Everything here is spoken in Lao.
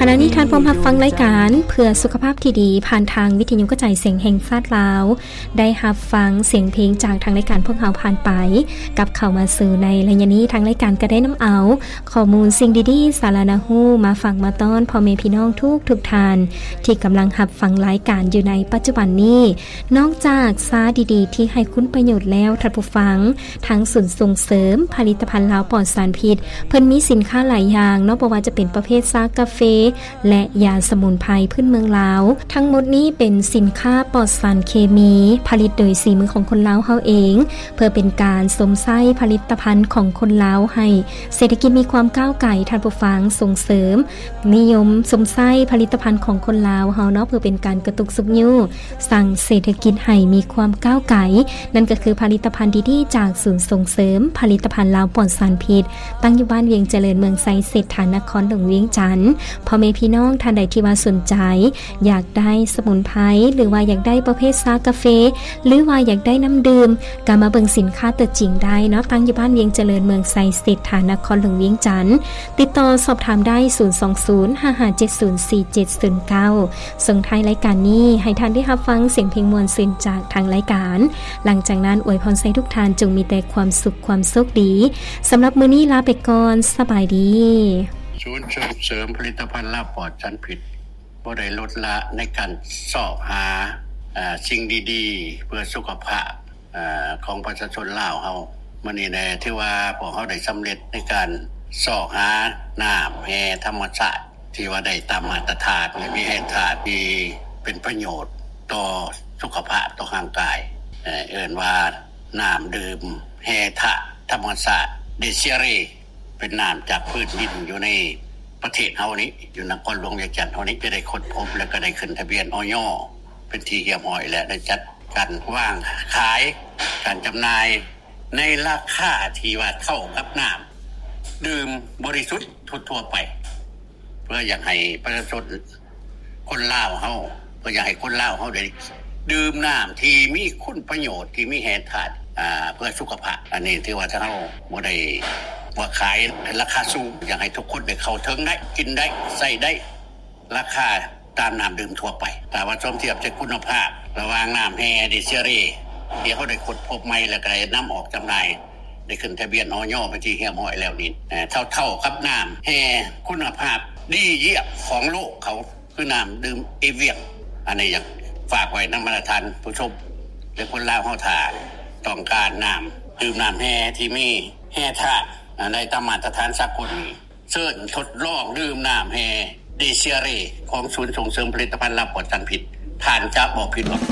ຂະນະນີ້ທ່ານພວມຮັບຟັງລາຍການເພື່ອສຸຂະພາບທີ່ດີ ຜ່ານທາງວິທະຍຸກະຈາຍສຽງແຫ່ງຊາດລາວ. ໄດ້ຮັບຟັງສຽງເພງຈາກທາງລາຍການພວກເຮົາຜ່ານໄປ. ກັບເຂົ້າມາສູ່ໃນໄລຍະນີ້, ທາງລາຍການກໍໄດ້ນຳເອົາຂໍ້ມູນສິ່ງດີໆ ສາລະໜ້າຮູ້ ມາຝາກມາຕ້ອນພໍ່ແມ່ພີ່ນ້ອງທຸກໆທ່ານ ທີ່ກຳລັງຮັບຟັງລາຍການຢູ່ໃນປັດຈຸບັນນີ້. ນອກຈາກຊາດີໆທີ່ໃຫ້ຄຸນປະໂຫຍດແລ້ວ, ທ່ານຜູ້ຟັງ, ທາງສູນສົ່ງເສີມຜະລິດຕະພັນລາວປອດສານພິດ ເພິ່ນມີສິນຄ້າຫຼາຍຢ່າງເນາະ, ບໍ່ວ່າຈະເປັນປະເພດຊາກາເຟ ແລະ ຢາສະໝຸນໄພພື້ນເມືອງລາວ. ທັງໝົດນີ້ເປັນສິນຄ້າປອດສານເຄມີ, ຜະລິດໂດຍສີມືຂອງຄົນລາວເຮົາເອງ, ເພື່ອເປັນການຊົມໃຊ້ຜະລິດຕະພັນຂອງຄົນລາວໃຫ້ເສດຖະກິດມີຄວາມກ້າວໄກ, ທ່ານຜູ້ຟັງ, ສົ່ງເສີມ ນິຍົມຊົມໃຊ້ຜະລິດຕະພັນຂອງຄົນລາວເຮົາເນາະ, ເພື່ອເປັນການກະຕຸກຊຸກຍູ້ ສ້າງເສດຖະກິດໃຫ້ມີຄວາມກ້າວໄກ, ນັ້ນກໍຄືຜະລິດຕະພັນດີໆຈາກສູນສົ່ງເສີມຜະລິດຕະພັນລາວປອດສານພິດ, ຕັ້ງຢູ່ບ້ານວຽງຈະເລີນ, ເມືອງໄຊເສດຖາ, ນະຄອນຫຼວງວຽງຈັນ. ພໍ່ແມ່ພີ່ນ້ອງທ່ານໃດທີ່ວ່າສົນໃຈ ຢາກໄດ້ສະໝຸນໄພ ຫຼືວ່າຢາກໄດ້ປະເພດຊາກາເຟ ຫຼືວ່າຢາກໄດ້ນ້ຳດື່ມ ກໍມາເບິ່ງສິນຄ້າຕົວຈິງໄດ້ເນາະ, ຕັ້ງຢູ່ບ້ານວຽງຈະເລີນ, ເມືອງໄຊເສດຖາ, ນະຄອນຫຼວງວຽງຈັນ. ຕິດຕໍ່ສອບຖາມໄດ້ ສູນສອງສູນ ຫ້າຫ້າເຈັດສູນ ສີ່ເຈັດສູນເກົ້າ. ສົ່ງທ້າຍລາຍການນີ້ ໃຫ້ທ່ານໄດ້ຮັບຟັງສຽງເພງມ່ວນຊື່ນຈາກທາງລາຍການ. ຫຼັງຈາກນັ້ນ ອວຍພອນໃຫ້ທຸກທ່ານຈົ່ງມີແຕ່ຄວາມສຸກ, ຄວາມໂຊກດີ. ສຳລັບມື້ນີ້ລາໄປກ່ອນ. ສະບາຍດີ. ສູນສົ່ງເສີມຜະລິດຕະພັນລາວປອດສານພິດ ບໍ່ໄດ້ລົດລະໃນການຊອກຫາ ເອີ ສິ່ງດີໆເພື່ອສຸຂະພາບ ເອີ ຂອງປະຊາຊົນລາວເຮົາ. ມື້ນີ້ແຫຼະ ຖືວ່າພວກເຮົາໄດ້ສຳເລັດໃນການຊອກຫານ້ຳແຮ່ທຳມະຊາດ ທີ່ວ່າໄດ້ຕາມມາດຕະຖານ ແລະ ມີແຮ່ທາດທີ່ເປັນປະໂຫຍດຕໍ່ສຸຂະພາບ, ຕໍ່ຮ່າງກາຍ. ເອີ ເອີ້ນວ່ານ້ຳດື່ມແຮ່ທາດທຳມະຊາດ ເດເຊຍເຣ ເປັນນ້ຳຈາກພື້ນດິນຢູ່ໃນປະເທດເຮົານີ້ ຢູ່ນະຄອນຫຼວງວຽງຈັນເຮົານີ້ ຈະໄດ້ຄົ້ນພົບ ແລະ ກໍໄດ້ຂຶ້ນທະບຽນ ອອຍ ເປັນທີ່ຮຽບຮ້ອຍ ແລະ ໄດ້ຈັດການວາງຂາຍ ການຈຳໜ່າຍໃນລາຄາທີ່ວ່າເທົ່າກັບນ້ຳດື່ມບໍລິສຸດທົ່ວໆໄປ ເພື່ອຢາກໃຫ້ປະຊາຊົນ ຄົນລາວເຮົາ ກໍຢາກໃຫ້ຄົນລາວເຮົາໄດ້ດື່ມນ້ຳທີ່ມີຄຸນປະໂຫຍດ ທີ່ມີແຮ່ທາດ ອ່າ ເພື່ອສຸຂະພາບ. ອັນນີ້ຖືວ່າທາງເຮົາບໍ່ໄດ້ວ່າຂາຍໃນລາຄາສູງ, ຢາກໃຫ້ທຸກຄົນໄດ້ເຂົ້າເຖິງໄດ້, ກິນໄດ້, ໃຊ້ໄດ້, ລາຄາຕາມນ້ຳດື່ມທົ່ວໄປ. ຖ້າວ່າສົມທຽບໃສ່ຄຸນນະພາບລະຫວ່າງນ້ຳແຮ່ເດເຊຍເຣ ທີ່ເຮົາໄດ້ຄົ້ນພົບໃໝ່ ແລ້ວກໍໄດ້ນຳອອກຈຳໜ່າຍ ໄດ້ຂຶ້ນທະບຽນ ອອຍ ເປັນທີ່ຮຽບຮ້ອຍແລ້ວນີ້ ເທົ່າໆກັບນ້ຳແຮ່ຄຸນນະພາບດີຢ້ຽມຂອງໂລກເຂົາ ຄືນ້ຳດື່ມເອວຽງ. ອັນນີ້ຢາກຝາກໄວ້ນຳບັນດາທ່ານຜູ້ຊົມ ແລະ ຄົນລາວເຮົາ ຖ້າຕ້ອງການນ້ຳດື່ມນ້ຳແຮ່ທີ່ມີແຮ່ທາດ ອັນໃດຕາມມາດຕະຖານສາກົນນີ້ ເຊີນທົດລອງດື່ມນ້ຳແຮ່ເດເຊຍເຣ ຂອງສູນສົ່ງເສີມຜະລິດຕະພັນລາວປອດສານພິດ, ທ່ານຈະບໍ່ຜິດຫວັງ.